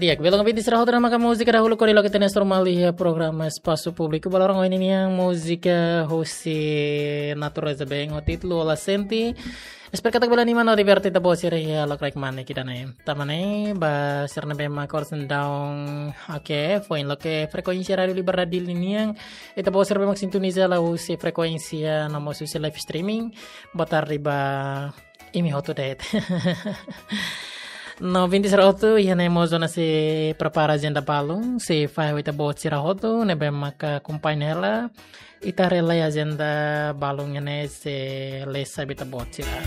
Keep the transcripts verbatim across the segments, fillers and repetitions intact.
Di'ak, belun ouvinte sira hotu, ne'e maka múzika dahuluk hodi loke ita-nia Jornál iha programa Espasu Públiku ba loron ohin nian, múzika husi Natureza Band ho títulu Ola Sente. Espera katak bele anima no diverte ita-boot sira iha lokraik mane ida-ne'e. Tanba ne'e ba sira ne'ebé mak oras ne'e daudaun, oke, foin loke frekuénsia Rádiu Liberdade Dili nian, ita-boot sira ne'ebé mak sintoniza hela husi frekuénsia no mós husi live streaming, boa tarde ba imi hotu de'it. No ouvinte sira hotu, iha ne'e mós Jonas sei prepara ajenda balun, sei fahe ho ita-boot sira hotu ne'ebé maka akompaña hela. Ita haree lai ajenda balun ne'e, sei lesa ba ita-boot sira.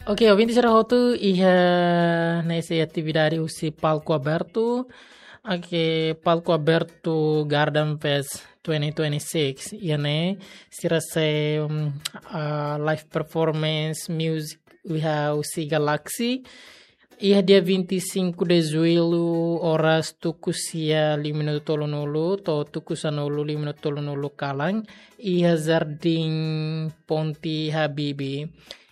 Oke, ouvinte sira hotu, iha ne'e sei atividade husi Palco Aberto. Oke, Palco Aberto Garden Fest twenty twenty-six. Iha ne'e sira sei, mm, ah, live performance music iha husi Galaxy. Iha dia vinte e cinco de Julho, oras tuku sia lima minutu tolunulu, to'o tuku sanulu lima minutu tolunulu kalan, iha Jardim Ponte Habibie.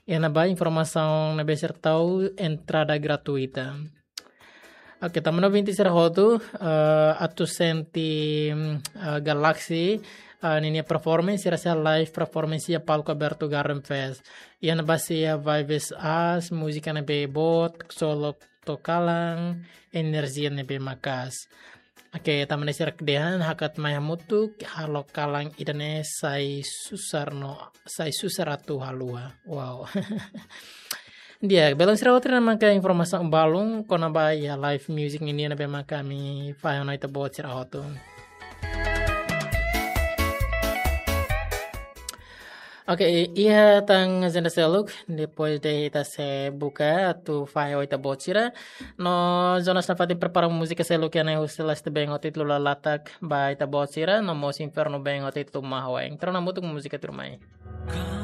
Iha ne'ebá informasaun ne'ebé sira tau, entrada gratuita. Oke, tanba ne'e ouvinte sira hotu, eh, atu sente, mm, eh, Galaxy, eh, ninia performance, sira sei live performance iha Palco Aberto Garden Fest. Iha ne'ebá sei iha vibes aas, múzika ne'ebé boot, solo to'o kalan, enerjia ne'ebé maka'as. Oke, tanba ne'e sira dehan hakat mai hamutuk, halo kalan ida-ne'e sai susar no, sai susar atu haluha. Wow. Di'ak, belun sira hotu, ne'e maka informasaun balun kona-ba iha live music nian ne'ebé maka ami fahe ona ita-boot sira hotu. Oke, iha tan ajenda seluk, depois de ita sei buka atu fahe ho ita-boot sira. No Jonas nafatin prepara múzika seluk iha ne'e husi Leste Band ho títulu Lalatak ba ita-boot sira, no mós Inferno Band ho títulu Mahweng. Entaun hamutuk múzika tuirmai.